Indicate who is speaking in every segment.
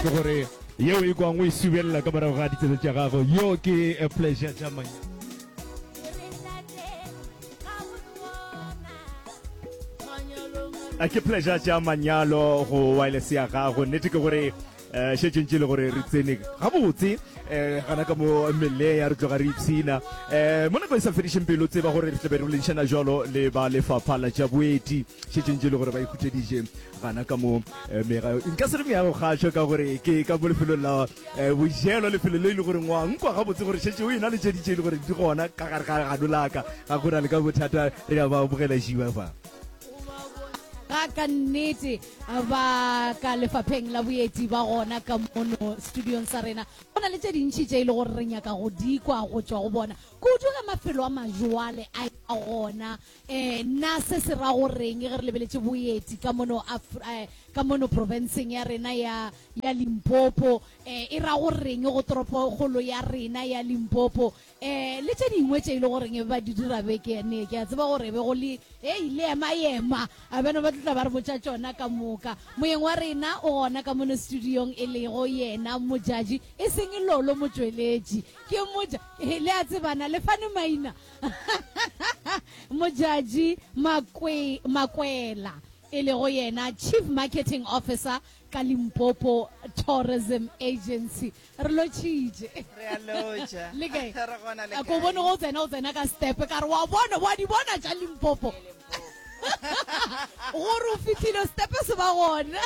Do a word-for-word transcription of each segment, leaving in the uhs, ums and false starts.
Speaker 1: Nnete ke gore yeo e kwang o e subelela ka morago ga ditsebe tša gago. Yo ke eh, Pleasure tša Manyalo. A ke Pleasure tša Manyalo go wireless ya gago. Nnete ke gore eh šetše ntše le gore re tsene gabotse eh gana ka mo meleya re tloga re ipshina eh mo nako e sa fedišeng pelo tseba gore re tlabe re boledišana jalo le ba lefapha la tša boeti šetše ntše le gore ba ikhutšeditše gana ka mo eh, mega nka se re meago kgašo ka gore ke ka mo lefelong la eh, bojelo lefelo le e le gore ngwa nkwa gabotse gore šetše o ena le tše di tše e le gore di gona ka gare ga gano laka ga go na le ka bothata re a ba amogela šiba fa.
Speaker 2: Ga ka nnete ba ka lefapheng la boeti ba gona ka mono studiong sa rena. Go na le tše dintši tše e le gore re nyaka go di kwa go tšwa go bona, kudu ge mafelo a majwale a eba gona. Um na se se ra goreng ge re lebeletše boeti ka mono Af-, eh, ka mono profenseng ya rena ya, ya Limpopo? Um e ra goreng go toropokgolo ya rena ya Limpopo? Um le tše dingwe tše e le goreng e ba di dira beke ne, ke a tseba gore be go le hei le ema ema a bana ba tla ba re botša tšona ka moka. Moyeng wa rena o gona ka mono studiong e lego yena Modjadji, e seng Lolo Motšweletši, ke moja le a tsebana le fane maina Modjadji Makwe, Makwela e lego yena Chief Marketing Officer ka Limpopo Tourism Agency. Re lotšhitše.
Speaker 3: Re a lotša.
Speaker 2: Le kae?
Speaker 3: Re gona le
Speaker 2: A ko bone go tsena o tsena ka step ka re wa bona wa di bona tša Limpopo. Gore o fihlile step se ba gona.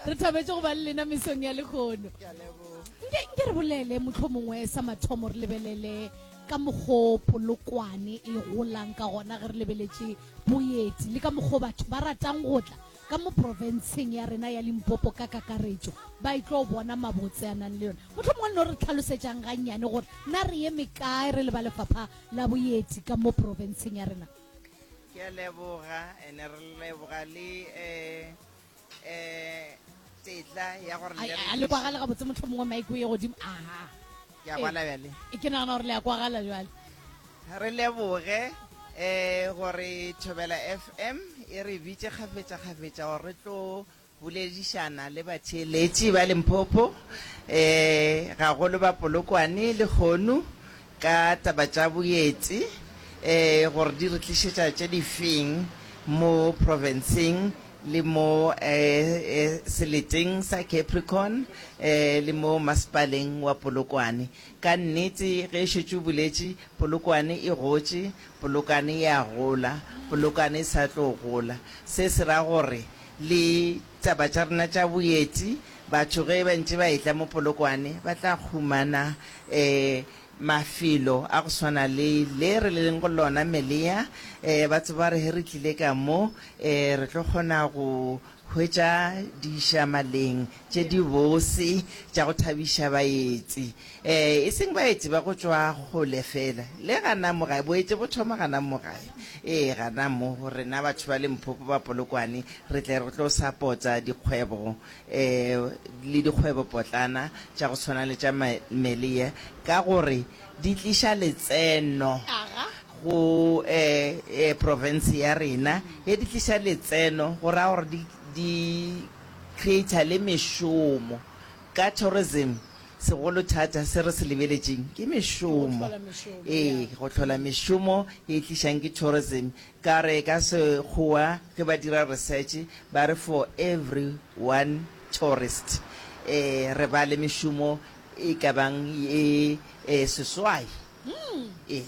Speaker 2: Re thabetše go ba le lena mesong ya lehono.
Speaker 3: Ke a leboga.
Speaker 2: Nke nke re bolele mohlomongwe sa mathomo re lebelele ka mokgo Polokwane e golang ka gona ge re lebeletše boeti le ka mokgo batho ba ratang go tla ka mo profenseng ya rena ya Limpopo ka kakaretšo ba e tlo bona mabotse a nang le yona. Mohlomongwe le no re tlhalosetšang gannyane gore na re eme kae re le ba lefapha la boeti ka mo profenseng ya rena.
Speaker 3: Ke a leboga, ene re leboga le eh eh tetla ya gore
Speaker 2: A
Speaker 3: le re
Speaker 2: a le kwagale gabotse mohlomongwe mic o ye godimo. Aha.
Speaker 3: Ke a kwala bjale.
Speaker 2: E ke nagana gore le a kwagala jwale.
Speaker 3: Re leboge eh gore Thobela F M e re bitše kgafetša-kgafetša gore re tlo boledišana le batheeletši ba Limpopo eh gagolo ba Polokwane le Kgonu ka taba tša boeti eh gore di re tlišetša tše difeng mo provinceng le mo eh, eh, seleteng sa Capricorn eh, le mo masepaleng wa Polokwane. Ka nnete ge šetše o boletše, Polokwane e gotše, Polokwane e a gola, Polokwane e sa tlo gola. Se se ra gore le taba tša rena tša boeti, batho ge ba ntše ba etla mo Polokwane ba tla humana eh mafelo a go swana le le re leng go lona Melea. Eh ba tseba re he re tlile ka mo eh re tlo kgona go hwetša dišamaleng tše di bose tša go thabiša baetsi. Eh e seng baetsi ba go tšwa kgole fela, le gana mo gae, boetsi bo thoma gana mo gae. Eh gana mo rena batho ba Limpopo ba Polokwane re tle re tlo support-a dikgwebo eh le dikgwebo potlana tša go tshwana le tša Melea ka gore di tliša letseno go eh eh province ya rena. Ge di tliša letseno go raya gore di di create le mešomo. Ka tourism segolo thata se re se lebeletšeng ke mešomo. Ee, go hlola mešomo e tlišang ke tourism. Ka re ka sekgowa ge ba dira research ba re for every one tourist eh re ba le mešomo e ka bang e eh, seswai. Ee.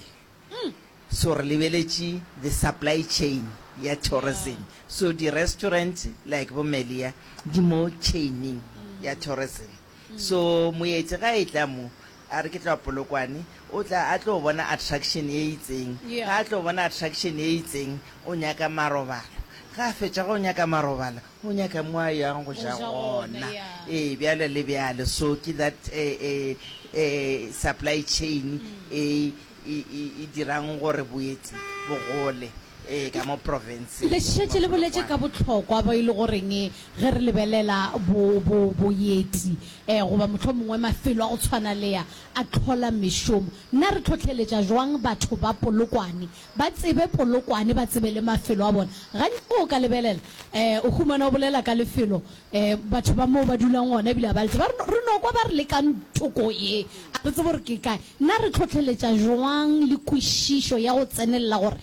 Speaker 3: So re lebeletše the supply chain ya tourism. So di restaurant like bo Melia di mo chaining ya tourism. So moeti ga e tla mo a re ke tla Polokwane, o tla a tlo bona attraction e itseng. Ga a tlo bona attraction e itseng, o nyaka marobalo. Ga a fetša go nyaka marobalo, o nyaka mo a yang go ja gona. Ee, bjale le bjale. So ke that eh, eh, eh, supply chain e e e dirang gore boeti bo gole. Ee, ka mo provinceng.
Speaker 2: Le šetše le boletše ka bohlokwa bo e le goreng ge re lebelela bo, bo, boeti, eh, goba mohlomongwe mafelo a go tshwana le a, a hlola mešomo. Na re hlohleletša jwang batho ba Polokwane ba tsebe Polokwane, ba tsebe le mafelo a bona? Gantši ge o ka lebelela, eh, o humana o bolela ka lefelo, eh, batho ba moo ba dulang gona ebile ga ba le tsebe. Ba re, Re no kwa ba re le ka nthoko ye, a re tsebe gore ke kae. Na re hlohleletša jwang le kwešišo ya go tsenelela gore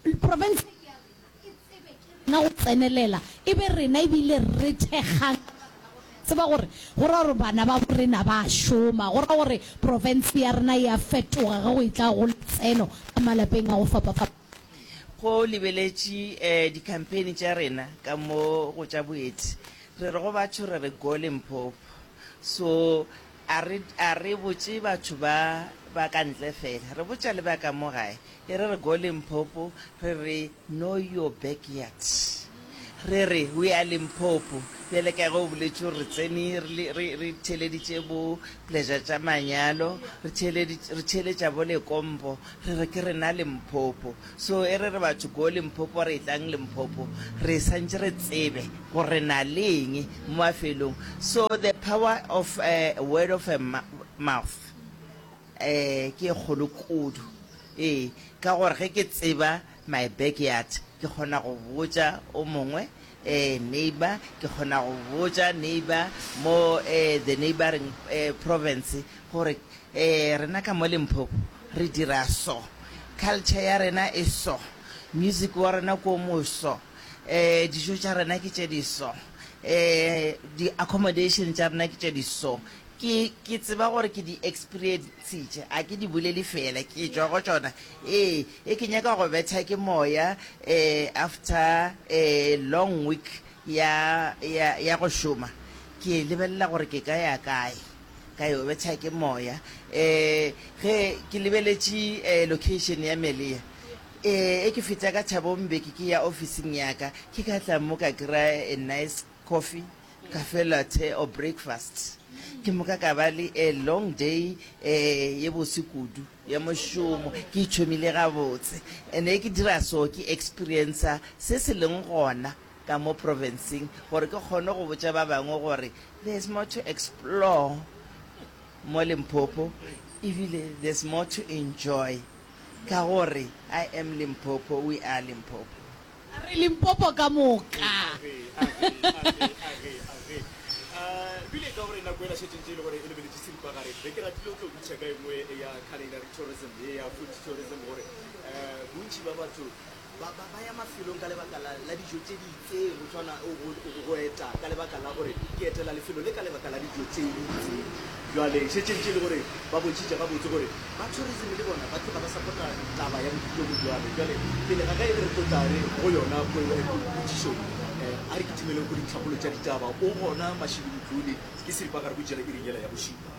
Speaker 2: Profense ke ya rena, e tsebe ke rena go tsenelela, e be rena ebile re thekgang ka baka la gore re a tseba gore go ra gore bana ba borena ba a šoma, go ra gore profense ya rena e a fetoga ge go etla go letseno ka malapeng a go fapafapana.
Speaker 3: Go lebeletše di-campaign tša rena ka mo go tša boeti, re re go batho re re Go Limpopo. So a re, a re botše batho ba ba ka ntle fela, re botša le ba ka mo gae. E re re go Limpopo, re re know your backyard. Re re we are Limpopo. Bjale ka ge o boletše gore re tsene re le, re, re theeleditše bo Pleasure tša manyalo, re theeleditše, re theeletša bo Lekompo, re re ke rena Limpopo. So e re re batho go Limpopo, re etlang Limpopo, re santše re tsebe gore re na le eng mo mafelong. So the power of uh, word of a mouth. Ee, ke e kgolo kudu. Ee, ka gore ge ke tseba my backyard, ke kgona go botša o mongwe, eh, neighbour, ke kgona go botša neighbour mo, eh, the neighbouring, eh, province gore, eh, rena ka mo Limpopo re dira so, culture ya rena e so, music wa rena ke o mo so, eh, dijo tša rena ke tše di so, eh, di-accommodation tša rena ke tše di so. Ke, ke tseba gore ke di experiencitše, a ke di bolele feela, ke tšwa go tšona. Ee, e ke nyaka go betha ke moya, eh, after a long week ya, ya, ya go šoma, ke lebelela gore ke ka ya kae, ka yo betha ke moya. Eh, ge ke lebeletše, eh, location ya Melea, eh, e ke feta ka Thabo Mbeki ke ya ofising ya ka, ke ka tla mo ka kry-a a nice coffee, cafe latte or breakfast. Ke moka ka ba le a long day eh, ye bose kudu ya mošomo. Ke ithomile gabotse. And ge ke dira so, ke experiencer se se leng gona ka mo provinceng gore ke kgone go botša ba bangwe gore there's more to explore mo Limpopo, ebile there's more to enjoy ka gore I am Limpopo, we are Limpopo.
Speaker 2: Re Limpopo ka moka.
Speaker 1: Age, age, age, age, age. Uh, bile ka gore nako ela šetše ntše e le gore e lebeletše seripagare, be ke ratile o tlo botšiša ka e nngwe ya culinary tourism, ye ya food tourism, gore um bontši ba batho ba, ba, ba ya mafelong ka lebaka la, la dijo tše di itseng, go tshwana go, go, go eta ka lebaka la gore ke etela lefelo le ka lebaka la dijo tše di itseng. Bjale šetše ntše e le gore ba bontšhitše gabotse gore ba tourism le bona ba tloga ba support-a taba ya bodulo bo bjalo. Bjale pele ga ge re tlo tla re go yona potšišo ye, a re kitimeleng go dintlhakgolo tša ditaba. O gona Mashilo Motlole, ke seripagare go tšela iring yela ya bošupa.